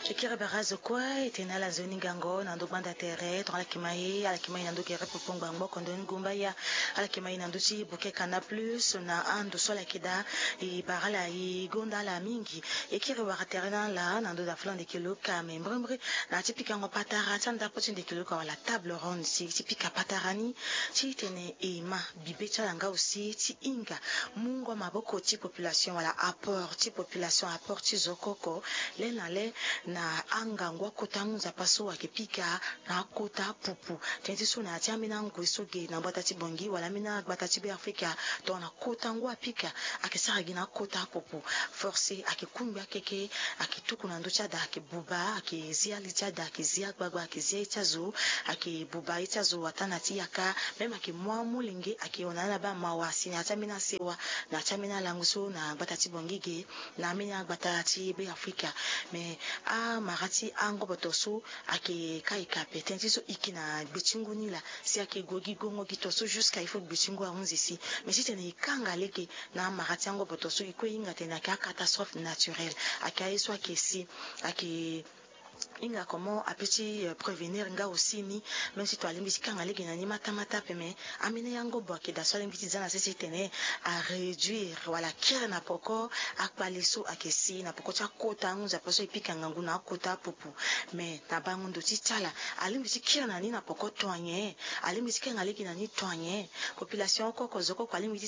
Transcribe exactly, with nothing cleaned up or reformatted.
Ekiri bara azo kue e tene ala nzoni ngango na ndo gbanda tere tongana ala kima ye ala kima ye na ndo gere popo ngbangbo kondo ni gumba ya. Ala kima ye na ndo ti buke kana plus na ando so ala yeke daa. E bara ala e gonda ala mingi. Ekiri wara tere na ala na ndo daa fula ndeke luka me mbrimbri na ti pikango patara ti andapo ti ndeke luka wala table ronde si ti pika patara ni ti tene e ma bibe ti ala nga aussi ti hinga mungo maboko ti population wala apport ti population apport ti zo koko. Le na le na angangu akota ngu nzapa so ayeke pika na akota pupu. Tënë ti so na ya ti ambeni angoi so ge na gbata ti bongi wala ambeni agbata ti be afrika tongana kota ngu apika ayeke sara gi na akota pupu. Force ayeke kungbi akeke. Ayeke tuku na ndö ti ada ayeke buba ayeke zi ali ti ada ayeke zi agbagba ayeke zi aye ti azo. Ayeke buba aye ti azo ata na ti yaka même ayeke mu amolenge ayeke hon na ala baa mawa si na ya ti ambeni asewa na ya ti ambeni alango so na gbata ti bongi ge na ambeni agbata ti be afrika. Mais amara ti angoboto so ayeke ka e ka ape tënë ti so e ke na gbe ti ngu ni laa si ayeke gue gi gongo gi to so jusqu'à il faut gbe ti ngu ahunzi si. Mais titene e kanga lege na amara ti angoboto so e kue e hinga tene ayeke acatastrophe naturelle ayeke aye so ayeke si ayeke hinga comment ape ti prévenir nga aussi ni. Même si to alingbi ti kanga lege na ni matamata ape mais ambeni angobo ayeke daa so alingbi ti za na sese titene aréduire wala akiri na poko akpale so ayeke si na poko ti akota angu nzapa so e pika ngangu na akota apupu. Mais na bango ndo ti ti ala alingbi ti kiri na ni na poko to anyen? Alingbi ti kanga lege na ni to anyen? Population oko oko zo koko alingbi ti